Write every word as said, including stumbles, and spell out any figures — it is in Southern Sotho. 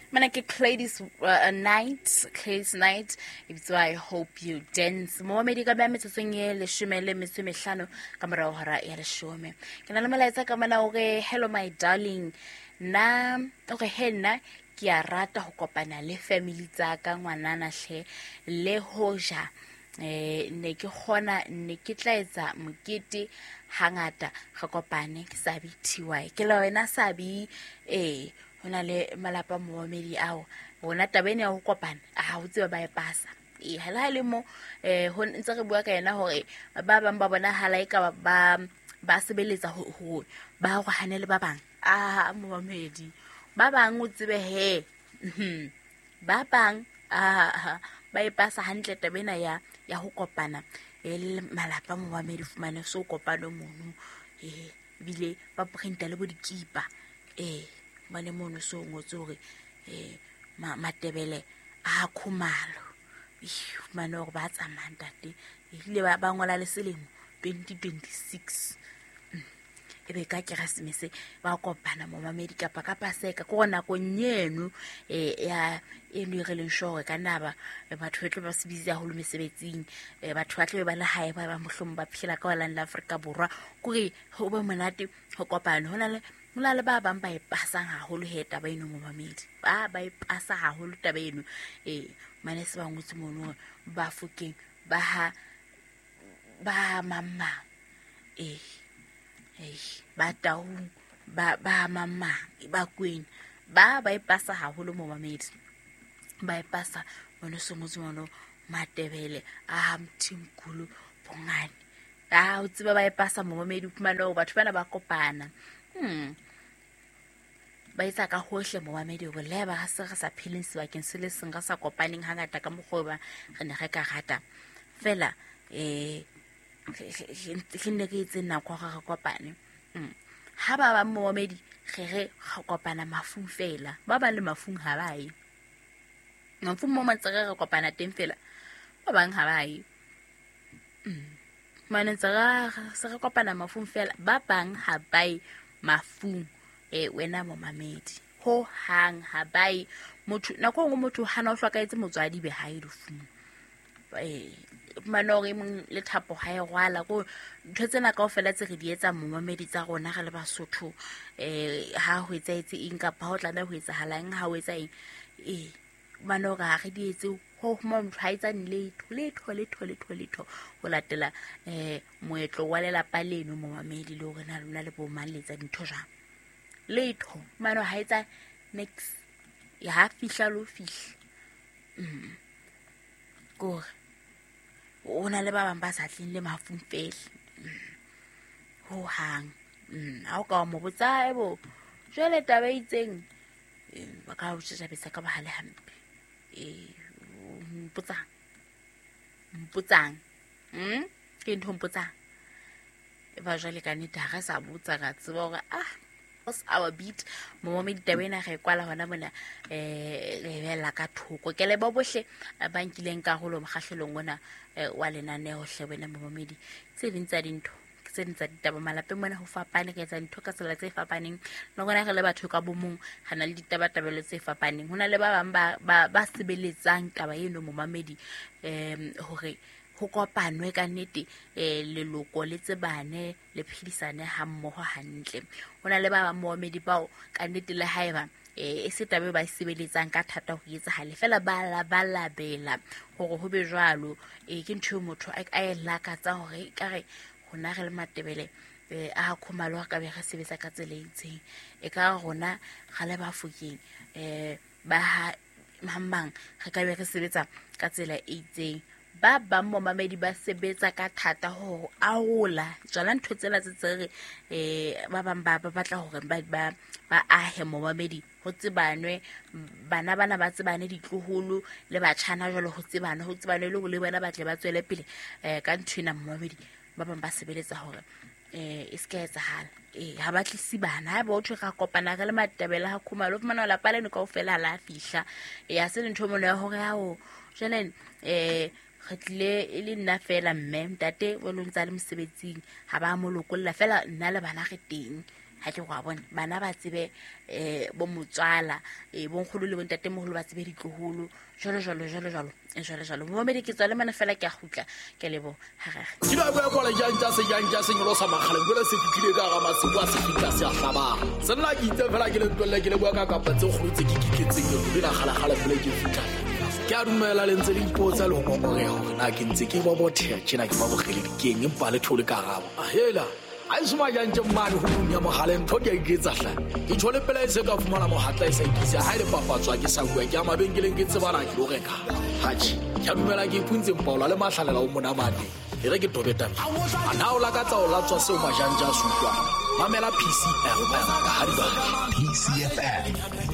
Mana ke Gladys uh, Knight, Gladys Knight. Ebitswa I Hope You Dance. Momamedi ka ba metsotsong e leshome le metso e mehlano ka morao hora ya leshome. Ke na le molaetsa ka mona hore hello my darling. Nna hore he nna ke a rata ho kopana le family tsa ka ngwanana hle le hoja eh ne ke kgona ne ke tla etsa mokete hangata re kopane ke Sabi T Y. Ke le wena Sabi eh hona le malapa momamedi ao rona taba ena ya ho kopana ha o tsebe ba e pasa. E ha le mo eh ho ntse re bua ka yena hore ba bang ba bona hala e ka ba ba sebeletsa ho ho ba go hanele ba bang. Ah momamedi ba bang o tsebe he ba bang ah ba e pasa hantle taba ena ya ya ho kopana e le malapa momamedi fumane so kopano mono eh bile ba printa le bo dikipa eh bane mono so ngotse hore eh Matebele a Khumalo mane hore ba tsamayang ntate ile ba ba ngola le selemo twenty twenty-six e be ka Keresemese ba kopana momamedi kapa ka Paseka ke hore nakong eno eh ya eno e re leng sure ka naba batho ba tlo ba se busy haholo mesebetsing batho ba tlo ba le hae ba ba mohlomong ba phela ka holane la Afrika Borwa kore ho be monate ho kopana. Hona le hona le ba bang ba e pasang haholo he taba eno momamedi ba ba e pasa haholo taba eno eh mane se ba ngotse mono ba fokeng ba ha ba mama eh eh ba taung ba ba mama ba kwena ba ba e pasa haholo momamedi ba e pasa mono se ngotse mono Matebele a Mthimkhulu Bongane a o tseba ba e pasa momamedi fumana hore batho bana ba kopana. Hmm. Ba etsa ka hohle momamedi hore le ba se re sa pheleng sebakeng se le seng re sa kopaneng hangata ka mokgwa ba re ne re ka rata fela eh re ne re etse nako hore re kopane. Ha ba ba momamedi re re re kopana mafung fela ba ba le mafung ha ba ye mafung mo mantse re kopana teng fela ba bang ha ba ye mane tse re re kopana mafung fela ba bang ha ba ye mafung eh wena momamedi ho hang ha ba motho nako nngwe motho hana o hlokahetse motswadi be ha e lefung eh manore mong le thapo ha e rwala ko ntho tsena kaofela tse re di etsa momamedi tsa rona re le Basotho eh ha ho etsaetse eng kapa ho tlameha ho etsahalang ha ho etsa eng eh manore ha re di etse ho motho ha etsa letho letho letho letho letho ho latela eh moetlo wa lelapa leno momamedi le hore na lona le bo mang le etsa dintho jwang letho mano ha etsa next ya ha fihla lo fihla mm gore o na le ba bang ba sa tleng le mafung fela ho hang ha o ka mo botsa ebo jwale taba itseng ba ka o tjhabetsa ka bahale hampe eh mpotsang mpotsang mm ke ntho mpotsang e ba jwale ka nnete ha re sa botsa ra tseba hore ah our beat momamedi taba ena re kwala hona mona eh re bella ka thoko ke le bo bohle ba nkileng karolo mokgahlelong ona wa lenaneo hle wena momamedi tse ding tsa dintho tse ding tsa ditaba malapeng mona ho fapane re etsa dintho ka tsela tse fapaneng le rona re le batho ka bomong re na le ditabatabelo tse fapaneng. Ho na le ba bang ba ba ba sebeletsang taba eno momamedi em hore ho kopanwe ka nnete eh leloko le tsebane le phedisane ha mmoho hantle. Ho na le ba bang momamedi bao ka nnete le haeba eh e se taba ba sebeletsang ka thata ho etsahale fela ba la ba labela hore ho be jwalo eh ke ntho motho a e lakatsa hore ka re rona re le Matebele eh a Khumalo ka be re sebetsa ka tsela e itseng e ka rona ga le ba fokeng eh ba ha mang re ka be re sebetsa ka tsela e itseng. Ba bang momamedi ba sebetsa ka thata ho arola tsona ntho tsena tse tse re eh ba bang ba ba batla hore ba ba ba ahe momamedi ho tsebanwe bana bana ba tsebane ditloholo le batjhana jwalo ho tsebane ho tsebane le le bona ba tle ba tswele pele eh ka ntho ena momamedi ba bang ba sebeletsa hore eh e se ka etsahala eh ha ba tlisi bana ha ba o thwe ra kopana re le Matebele ha Khumalo fumana lapa leno kaofela la fihla eh ha se le ntho mono ya hore ha o jwale eh re tlile e le nna fela mme ntate o lo ntsa le mosebetsing ha ba mo lokolla fela nna le bana re teng Ha ke go bona bana ba tsebe eh bo motswala eh bonkgolo le bontatemoholo ba tsebe ditloholo jalo jalo jalo jalo jalo jalo. Momamedi ke tswa le mana fela ke a gutla ke lebo harare. Ke ba bua kwa jang se jang ja se nyolosa makgaleng jwale se fitlhile ka ga masimo a se fitla se a hlabang. Se nna ke itse fela ke le ntwelle ke le bua ka kapa tse kgolo tse ke kitletseng ke le kgala kgala pele ke fitla. Ke a dumela le ntse le ipotsa le ho ngongoreha hore na ke ntse ke bobotheha tjena ke ba bogele dikeng empa le thole karabo. Hela a isuma jang tje mmane ho bunya mohaleng ntho ke a iketsa hle. Ke tshole pela e se ka fumana mohatla e sa ikisa ha ile papatswa ke sa bua ke a mabenkeleng ke tsebana ke lo reka. Hatjhe, ke a dumela ke ipuntse mpaola le mahlalela o monamane. E re ke tobeta. A na o lakatsa o latswa seo majanja a se utlwang. Mamela P C F M ka ha di P C F M.